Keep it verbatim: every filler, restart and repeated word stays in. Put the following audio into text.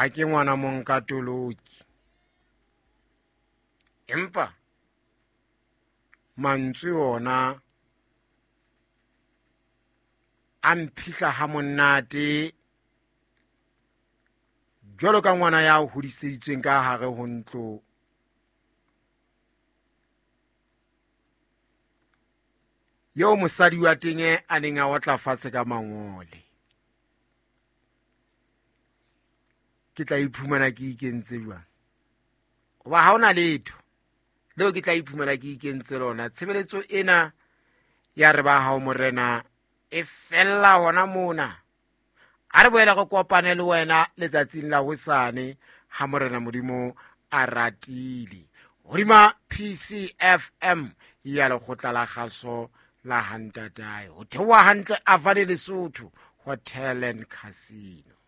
Ha ke ngwana monkatoloki, empa mantswe ona a mphihla ha monate jwalo ka ngwana ya hodiseditsweng ka hare ho ntlo eo mosadi wa teng a neng a otla fatshe ka mangole. Ke tla iphumana ke ikentse jwang? Hoba ha hona letho leo ke tla iphumana ke ikentse lona. Tshebeletso ena ya re ba hao morena e fella hona mona. A re boela re kopane le wena letsatsing la hosane ha morena Modimo a ratile. Hodima P C F M ya lekgotla la kgaso la Hantatae. Ho theoha hantle Avane Lesotho Hotel and Casino.